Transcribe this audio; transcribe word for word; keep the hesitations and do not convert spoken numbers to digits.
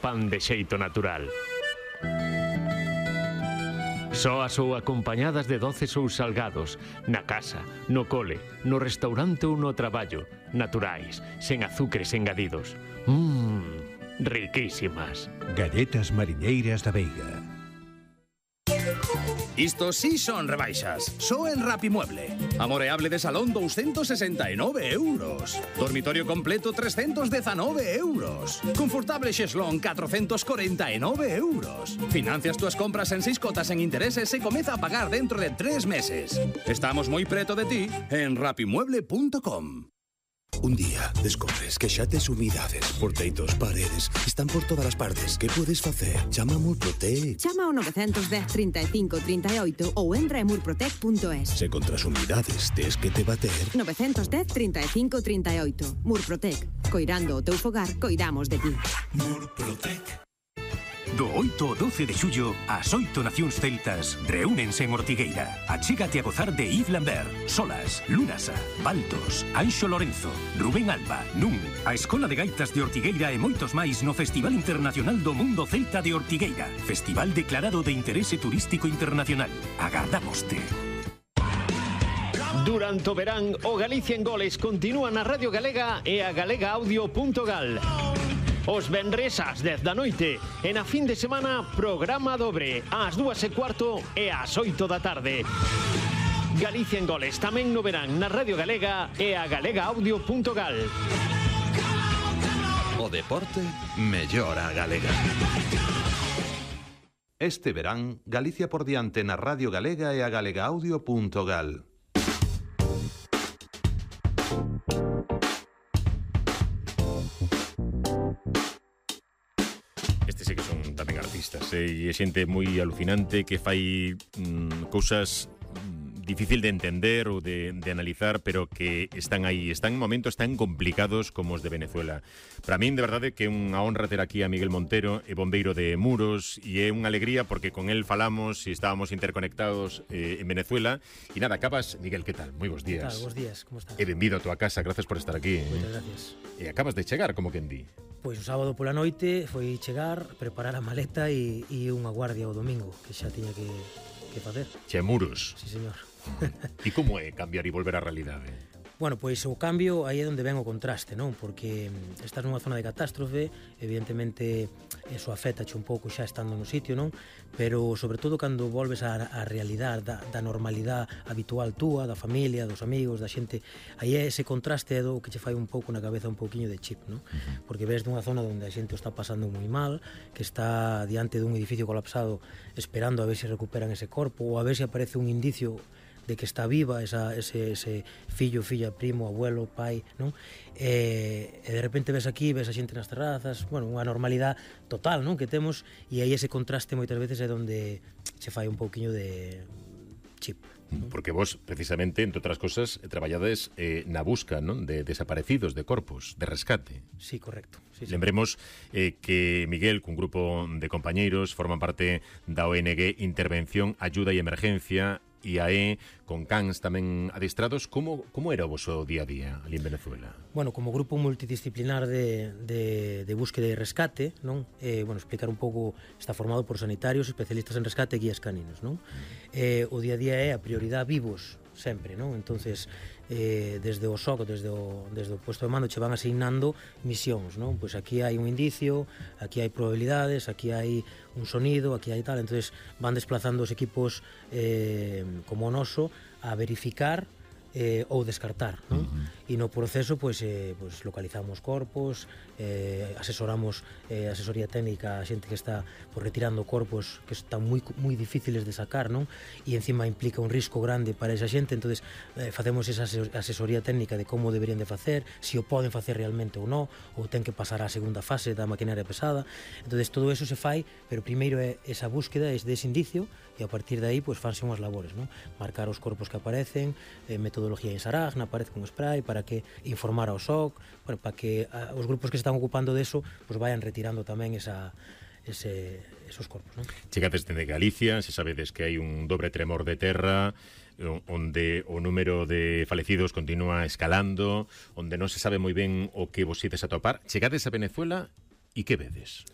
pan de xeito natural. Soas ou acompañadas de doces ou salgados, na casa, no cole, no restaurante ou no traballo, naturais, sen azucres engadidos. Mmm, riquísimas. Galletas mariñeiras da Veiga. Isto sí son rebaixas. Só en Rapimueble. Amoreable de salón doscientos sesenta e nove euros. Dormitorio completo trescientos diecinueve euros. Confortable xeslón cuatrocientos cuarenta e nove euros. Financias túas compras en seis cotas en intereses e comeza a pagar dentro de tres meses. Estamos moi preto de ti en rapimueble punto com. Un día descobres que xa tes humidades, porteitos, paredes, están por todas as partes. Que podes facer? Chama a Murprotec. Chama ao nove un cero, trinta e cinco, trinta e oito ou entra en murprotec punto es. Se contra as humidades tes que te bater. nove un cero, trinta e cinco, trinta e oito. Murprotec. Coirando o teu fogar, coidamos de ti. Murprotec. Do oito ao doce de xullo, as oito nacións celtas reúnense en Ortigueira. Achégate a gozar de Yves Lambert, Solas, Lunasa, Baltos, Anxo Lorenzo, Rubén Alba, Nun, a Escola de Gaitas de Ortigueira e moitos máis no Festival Internacional do Mundo Celta de Ortigueira. Festival declarado de interese turístico internacional. Agardámoste. Durante o verán, o Galicia en Goles continúa na Radio Galega e a galega audio punto gal. Os venres ás dez da noite e na fin de semana programa dobre ás dúas e cuarto e ás oito da tarde. Galicia en Goles tamén no verán na Radio Galega e a galega audio punto gal. O deporte mellora a galega. Este verán, Galicia por diante na Radio Galega e a galega audio punto gal. Este sí que son tamén artistas, eh? E xente moi alucinante que fai mm, cousas mm, difícil de entender ou de, de analizar, pero que están aí, están en momentos tan complicados como os de Venezuela. Para min, de verdade, que é unha honra ter aquí a Miguel Montero, é bombeiro de Muros, e é unha alegría porque con él falamos e estábamos interconectados eh, en Venezuela. E nada, acabas, Miguel, que tal? Moi bons días. Que tal? Bons días, como estás? E benvido a tua casa, gracias por estar aquí. Moitas gracias. E acabas de chegar, como quen di. Pois o sábado pola noite foi chegar, preparar a maleta e, e unha guardia o domingo, que xa tiña que, que facer. Che, Muros. Sí, señor. E como é cambiar e volver á realidade? Bueno, pois o cambio aí é onde ven o contraste, non? Porque estás nunha zona de catástrofe, evidentemente eso afectache un pouco xa estando no sitio, non? Pero sobre todo cando volves á, á realidade da, da normalidade habitual túa, da familia, dos amigos, da xente, aí é ese contraste é do que che fai un pouco na cabeza un pouquiño de chip, non? Porque ves dunha zona onde a xente o está pasando moi mal, que está diante dun edificio colapsado esperando a ver se recuperan ese corpo ou a ver se aparece un indicio de que está viva esa, ese, ese fillo, filla, primo, abuelo, pai, non? E, e de repente ves aquí, ves a xente nas terrazas, bueno, unha normalidade total, non? Que temos, e aí ese contraste moitas veces é onde se fai un pouquiño de chip. Porque vos, precisamente, entre outras cosas, traballades eh, na busca, non? De desaparecidos, de corpos, de rescate. Sí, correcto. Sí, sí. Lembremos eh, que Miguel, cun grupo de compañeiros, forman parte da O N G Intervención, Ayuda e Emergencia, I A E, con cans tamén adestrados. Como, como era o vosso día a día ali en Venezuela? Bueno, como grupo multidisciplinar de, de, de búsqueda e rescate, non? Eh, bueno, explicar un pouco, está formado por sanitarios, especialistas en rescate e guías caninos, non? Mm. Eh, o día a día é a prioridade vivos, sempre, non? Entonces, eh, desde o S O C, desde o, desde o puesto de mando, che van asignando misións, non? Pois aquí hai un indicio, aquí hai probabilidades, aquí hai un sonido, aquí hai tal, entonces van desplazando os equipos eh, como o noso a verificar eh, ou descartar, non? Uh-huh. E no proceso, pois, eh, pois localizamos corpos, eh, asesoramos eh, asesoría técnica a xente que está pois, retirando corpos que están moi, moi difíciles de sacar, non? E encima implica un risco grande para esa xente, entonces eh, facemos esa asesoría técnica de como deberían de facer, se o poden facer realmente ou non, ou ten que pasar á segunda fase da maquinaria pesada. Entonces todo eso se fai, pero primeiro é esa búsqueda, é dese indicio, e a partir de aí, pois, fanse unhas labores, non? Marcar os corpos que aparecen, eh, metodología en Saragna, aparece con spray, para que informar ao S O C, bueno, para que a, os grupos que se están ocupando deso, pois, vayan retirando tamén esa, ese, esos corpos, non? Chegades dende Galicia, se sabedes que hai un dobre tremor de terra, onde o número de falecidos continúa escalando, onde non se sabe moi ben o que vos ides a topar. Chegades a Venezuela e que vedes?